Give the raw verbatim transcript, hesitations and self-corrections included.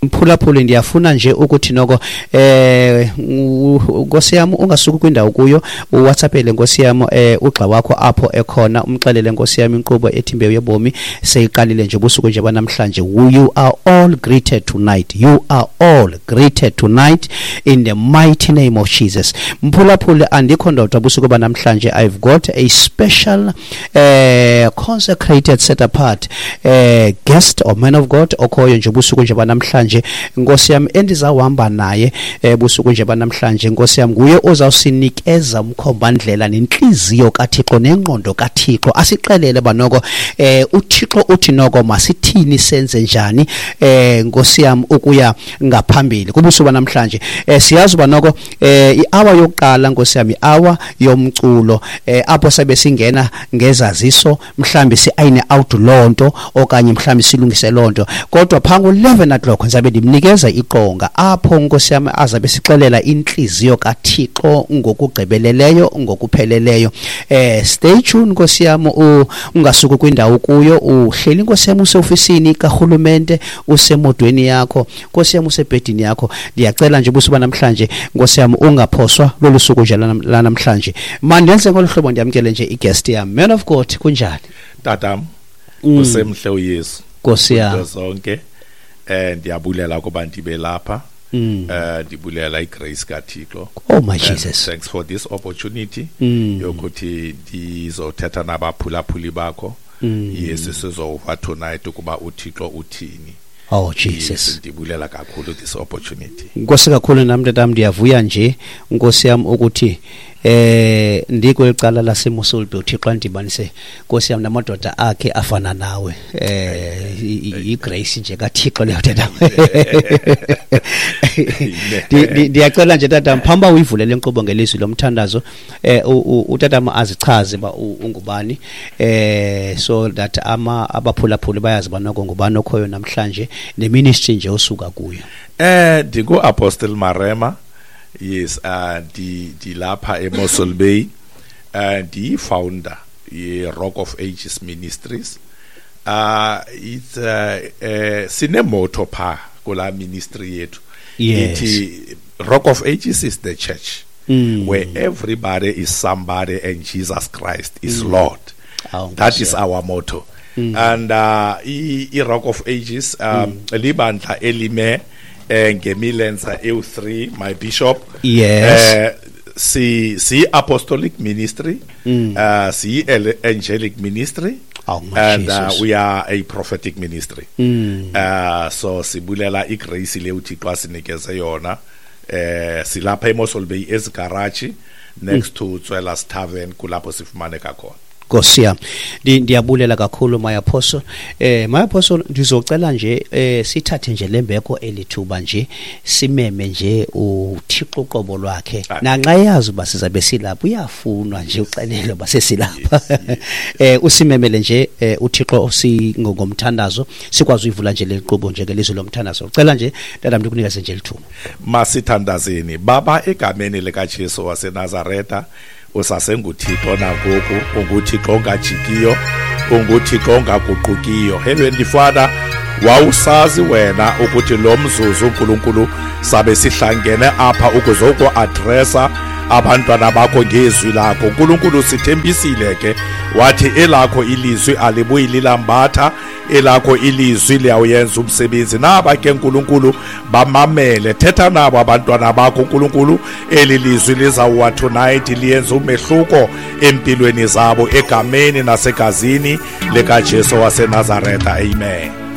Mphulaphuli, ndiyafuna nje ukuthi noko eh nkosi yam ungasuki kwindawo kuyo, uWhatsAppele nkosi yam eh ugxa wakho apho ekhona, umxelele nkosi yam inkqubo ethi Imbewu Yobomi seyiqalile nje busuku nje banamhlanje. You are all greeted tonight, you are all greeted tonight in the mighty name of Jesus. Mphulaphuli, andikho ndodwa busuku banamhlanje. I've got a special eh consecrated, set apart eh guest or man of God okhoyo nje busuku nje banamhlanje nkosi yam, endizawuhamba naye ebusuku nje banamhlanje nkosi yam. Nguye ozawusinikeza umkhombandlela nenhliziyo kaThixo nengqondo kaThixo, asixelele banoko eh uThixo uthi noko masithini, senze njani eh nkosi yam ukuya ngaphambili kubusuku banamhlanje. Eh siyazi uba noko eh i-hour yokuqala nkosi yam, i-hour yomculo, eh apho sabe singena ngezaziso, mhlambi si-ayine out lonto okanye mhlambi silungise lonto, kodwa pha ngo-eleven o'clock ngizabe ndimnikeza iqonga apho nkosi yam azabe sixelela inhliziyo kaThixo ngokugqibeleleyo, ngokupheleleyo. Eh stay tuned nkosi yam, ungasuki kwindawo kuyo, uhleli nkosi yam useofisini karhulumente, usemodweni yakho nkosi yam, usebhedini yakho. Ndiyacela nje busuku namhlanje nkosi yam ungaphoswa lolu suku nje lanamhlanje. Mandenze ngolu hlobo, ndiyamkele nje i-guest yam. Man of God, kunjani? Tatam, usemhle uYesu nkosi yam zonke. Eh ndiyabulela ukuba ndibe lapha. Eh ndibulela igrace kaThixo. Oh my Jesus. Thanks for this opportunity yokuthi ndizothetha nabaphulaphuli bakho. Yes, sizova tonight ukuba uThixo uthini. Oh Jesus. Ndibulela kakhulu this opportunity. Nkosi kakhulu nami tatam, ndiyavuya nje nkosi yam ukuthi eh ndikwelicala laseMossel Bay, uThixo andibanise nkosi yam namadoda akhe afana nawe. Eh igrace nje kaThixo leyo tata. Ndiyacela nje tata, phambi uyivulele inkqubo ngelizwi lomthandazo, eh utata azichaze ba ungubani, eh so that ama abaphulaphuli bayazi banoko ngubani okhoyo namhlanje neministry nje osuka kuyo. Eh ndingu Apostle Marema. Yes, uh di di lapha eMossel Bay, uh di founder ye Rock of Ages Ministries. Uh it's uh, uh sine motto pha kula ministry yethu. Yes. Ithi Rock of Ages is the church mm. where everybody is somebody and Jesus Christ is mm. Lord. Oh, that is our motto. Mm. And uh i, i Rock of Ages um mm. libandla elime ngemilenza E U three, my bishop. Yes. Uh, si si apostolic ministry, mm. uh si angelic ministry. Oh, my and uh, Jesus. we are a prophetic ministry. Mm. Uh so sibulela igrace le uThixo asinikeze yona. Eh silapha eMossel Bay ezigarage next mm. to Tswela's Tavern, kulapho sifumaneka khona. Nkosi yam, ndiyabulela kakhulu my apostle. Eh my apostle, ndizocela nje eh sithathe nje lembeko elithuba nje simeme nje uThixo uqobo lwakhe. Nanxa yazi uba sizabe silapha, uyafunwa nje uxelele uba sesilapha. Eh usimemele nje uThixo singomthandazo, sikwazi uyivula nje lenkqubo nje ngelizwi lomthandazo. Ucela nje tata ndikunikeze nje lithuba. Masithandazeni. Baba, egameni likaJesu waseNazaretha, usasenguThixo nangoku, unguThixo ongajikiyo, unguThixo ongaguqukiyo. Heavenly Father, wawusazi wena ukuthi lo mzuzu uNkulunkulu sabe sihlangene apha ukuzoku-addressa abantwana bakho ngezwi lakho. uNkulunkulu sithembisile ke, wathi elakho ilizwi alibuyi lilambatha, elakho ilizwi liyawuyenza umsebenzi. Naba ke uNkulunkulu bamamele, thetha nabo abantwana bakho uNkulunkulu, eli lizwi lizawuwa tonight liyenza umehluko empilweni zabo, egameni nasegazini likaJesu waseNazaretha. Amen.